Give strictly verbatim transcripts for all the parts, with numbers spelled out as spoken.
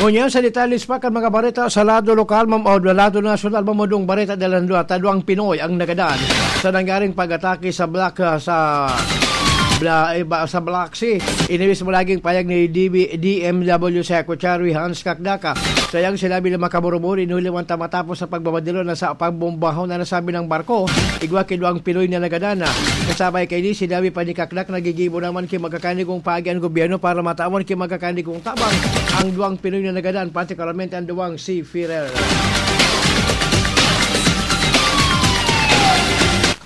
Ngunyan sa detalye pa kan mga bareta sa lado lokal, mam-, o lado nasyonal, mamudong bareta dalan dua, tadwang Pinoy ang nagadan sa nangyaring pag-atake sa Black, ah, sa Bla-, eh, ba-, sa Black Sea. Ini mismo naging payag ni D B, D M W Secretary Hans Kakdaka. Sa iyang sinabi na makaburuburi, inuliwan ta matapos sa pagbabadilo na sa pagbombahon na nasabi ng barko, igwa ki duwang Pinoy na nagadan na. Kasabay kaini, sinabi pa ni Kakdak, nagigibo naman ki magkakanigong paagi ang gobyerno para matawan ki magkakanigong tabang ang duwang Pinoy na nagadan, partikularmente ang duwang seafarer.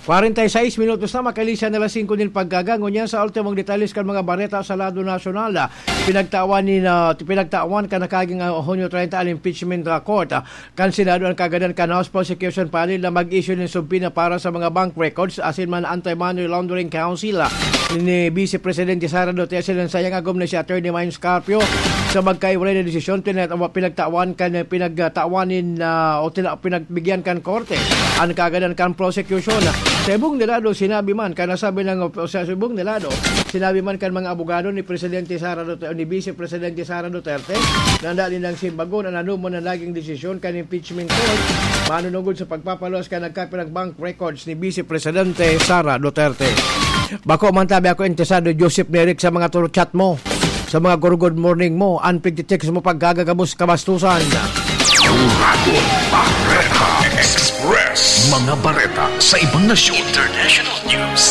Kwarenta y seis minutos na, makalihis na alas singko nin pagkaga. Ngunyan sa ultimong detalye kan mga bareta sa lado nasyonal, ah, pinagtawan ni, ah, pinagtawan kan nakaging, ah, Hunyo treinta an impeachment, ah, court, ah, kan Senado ang kagadan kan House Prosecution Panel na mag-issue nin subpoena para sa mga bank records asin man Anti-Money Laundering Council, ah, ni Vice Presidente Sara Duterte. Sa iyang agom na si Attorney Mines Carpio, sa magkaiwalay na desisyon, tina-, pinagtawan kan, pinagtawan nin, ah, o tina-, pinagbigyan kan korte an kagadan kan prosecution. Sa ibong nilado, sinabi man kan nasabi ng op-, sa ibong nilado, sinabi man kan mga abogado ni Presidente Sara Duterte, ni Vice Presidente Sara Duterte, na dali nang simbagon an anoman na naging desisyon kan impeachment court, manunungod sa pagpapaluwas kan nagkapirang bank records ni Vice Presidente Sara Duterte. Bako man tabi ako interesado, Joseph Merrick, sa mga turo chat mo, sa mga good morning mo, an pigtitext mo paggagagabos kabastusan. Uragon Bareta Express. Mga bareta sa ibang nasyon. International News.